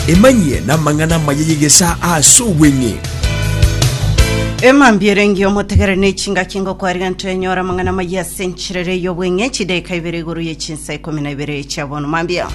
Emanyie namang'ana amaya y'egesaa ase obweng'e. Emambia ere engiya omotegere ne chingaki ngokwariga ntwenyora amang'ana amaya ase enchirere y'obweng'e chidaeka ibere igoro ye chinsa ikomi na ibere chia bono mambia.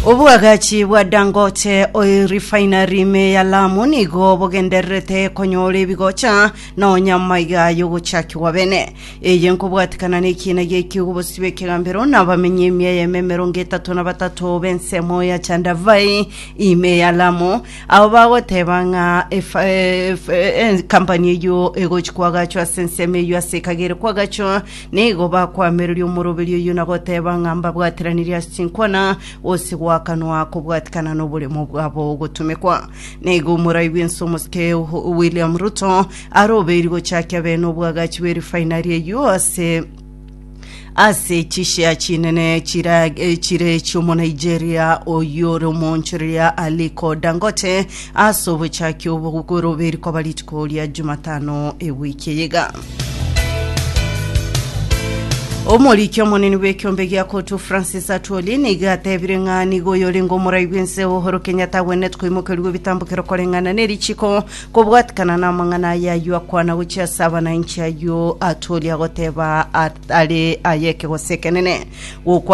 Obwagachi bwa Dangote Oil Refinery ime ya Lamu nigo bogendererete konyora ebigocha nonya amaiga y'ogochakigwa bene. Eye nkobwatikana nekiina gi'ekiugo bosio bw'ekegambero na abamenyi emia eyemo 32 b'ensemo ya Chandavai ime ya Lamu, abo bagoteba ng'a efa- ef- ekampani eyio egochi koagachwa ase ensemo eyio ase ekagere koagachwa, nigo bakwamereria omoroberio oyio na goteba ng'a mbabwateranirie ase chinkwana gose goakanwa kobwatikana noboremo bwabo gotumekwa. Nigo omorai bw'ense omosike William Ruto Arobeiri gochakia bene obwagachi bwe refinery eyio ase ase chishare chinene chira chire chi'omonaijeria oyio ore omoonchoreria Aliko Dangote ase obochaki obo bw'oroberi koba rituko ria Jumatano ewiki eye iga. Omoriki omonene bw'ekiombe gia Kotu Francis Atwoli nigo atebire ng'a nigo oyorenge omorai bw'ense Uhuru Kenyatta agwenerete koimokerigwa ebitambokero koreng'ana nerichiko Kobwatikana namang'ana aya ayio akwana gochia ase abanainchi ayio Atwoli agoteba are ay'ekegose ekenene. Gokwa.